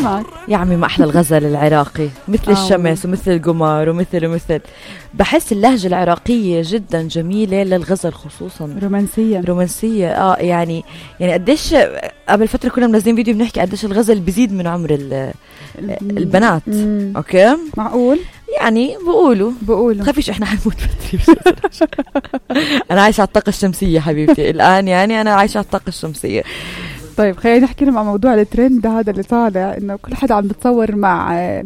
معك يا عمي ما أحلى الغزل العراقي مثل الشمس ومثل القمر ومثل بحس اللهجة العراقية جدا جميلة للغزل خصوصا رومانسية يعني قديش قبل فترة كنا منزلين فيديو بنحكي قديش الغزل بيزيد من عمر البنات. أوكي معقول يعني بقولوا خافيش احنا حنموت بدري. انا عايشة على الطاقة الشمسية حبيبتي الآن، يعني انا عايشة على الطاقة الشمسية. طيب خلينا نحكي لهم عن موضوع الترند هذا اللي طالع، انه كل حدا عم بتصور مع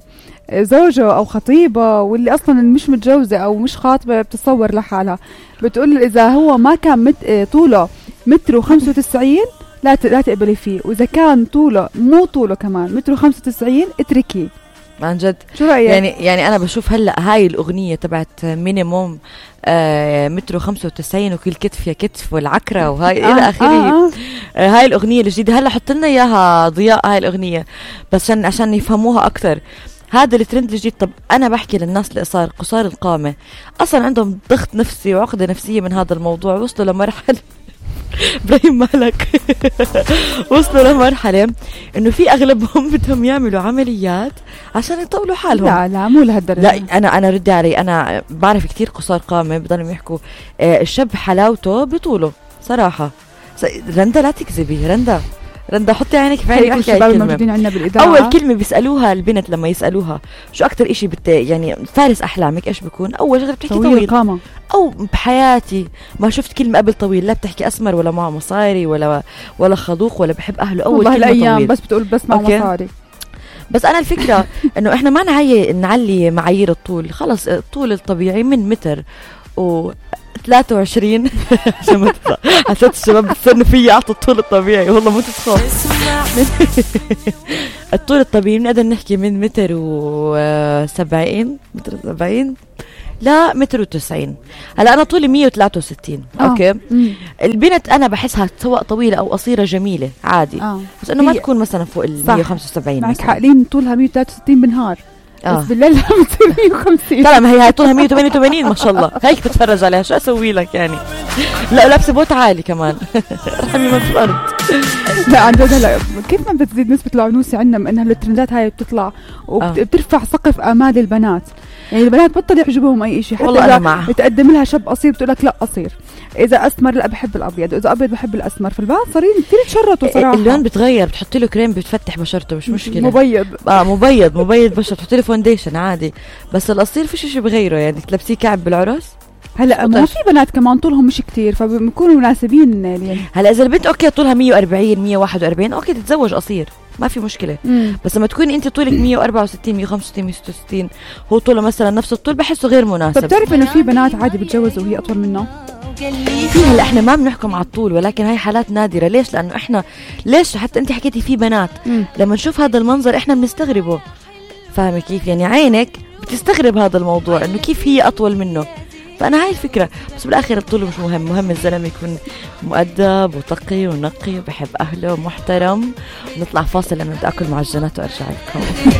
زوجه او خطيبه، واللي اصلا مش متجوزة او مش خاطبة بتصور لحالها، بتقول اذا هو ما كان طوله 1.95 لا تقبلي فيه، واذا كان طوله مو طوله كمان 1.95 اتركيه. عن جد شو رأيك؟ يعني انا بشوف هلا هاي الاغنيه تبعت مينيموم 1.95 وكل كتف يا كتف والعكره وهاي الى اخره. هاي الاغنيه الجديده هلا حط لنا اياها ضياء هاي الاغنيه بس عشان يفهموها اكثر. هذا الترند الجديد. طب انا بحكي للناس اللي قصار القامه اصلا عندهم ضغط نفسي وعقده نفسيه من هذا الموضوع، وصلوا لمرحله إبراهيم مالك وصلوا لمرحلة إنه في أغلبهم بدهم يعملوا عمليات عشان يطولوا حالهم. لا مو لهالدرجة. لا أنا ردي علي، أنا بعرف كتير قصار قامة بدهم يحكوا الشاب حلاوته بطوله صراحة. رندا لا تكذبي، رندا حطي عينك في عيني. الشباب الموجودين عندنا بالإذاعة أول كلمة بيسألوها البنت لما يسألوها شو أكتر إشي يعني فارس أحلامك إيش بيكون؟ أول شغلة بتحكي طويل قامة. أو بحياتي ما شفت كلمة قبل طويل، لا بتحكي أسمر ولا معه مصاري ولا خلوق ولا بحب أهله. أول كلمة الأيام طويل بس بتقول بس معه مصاري. بس أنا الفكرة إنه إحنا ما نعلي معايير الطول، خلص الطول الطبيعي من متر و 23 عشان ما تطلع حسيت الشباب بتصنوا فيي أعطوا الطول الطبيعي، والله مو تتخاف. الطول الطبيعي بنقدر نحكي من متر و70 لا 1.90. هلا أنا طولي 163. أوكي البنت أنا بحسها سواء طويلة أو قصيرة جميلة عادي. بس إنه ما تكون مثلا فوق 175. معك حقلين طولها 163 بالنهار بس بالليل بتصير 150. لا ما هي طولها 188 ما شاء الله. هيك بتفرج عليها شو أسوي لك يعني. لا لابسة بوت عالي كمان رحمي من الأرض. لا عن جد هلا كيف ما بتزيد نسبة العنوسة عندنا من إنها الترندات هاي بتطلع وبترفع سقف آمال البنات. يعني البنات بطل يعجبهم أي إشي، حتى إذا تقدم لها شاب قصير بتقول لك لا قصير، إذا أسمر لا بحب الأبيض، إذا أبيض بحب الأسمر. فالبنات صارين كتير تشرطوا صراحة. اللون بتغير، بتحط له كريم بتفتح بشرته مش مشكلة. مبيض بشرة، تحط له فونديشن عادي. بس القصير فيش شيء بغيره، يعني تلبسيه كعب بالعرس. هلا ما في بنات كمان طولهم مش كتير فبيكونوا مناسبين يعني. هلا إذا البنت أوكي طولها 140 141 أوكي تتزوج قصير ما في مشكلة. بس لما تكوني انت طولك 164 165 166 هو طوله مثلا نفس الطول بحسه غير مناسب. طب بتعرف انه في بنات عادي بتجوزوا وهي اطول منه؟ هلا احنا ما بنحكم على الطول، ولكن هاي حالات نادرة. ليش؟ لانه احنا حتى انت حكيتي في بنات لما نشوف هذا المنظر احنا بنستغربه. فاهمة كيف؟ يعني عينك بتستغرب هذا الموضوع انه كيف هي اطول منه. فأنا هاي الفكرة. بس بالآخر الطول مش مهم الزلمة يكون مؤدب وتقي ونقي وبحب أهله ومحترم. نطلع فاصل لأنه بدي أكل معجنات وأرجع لكم.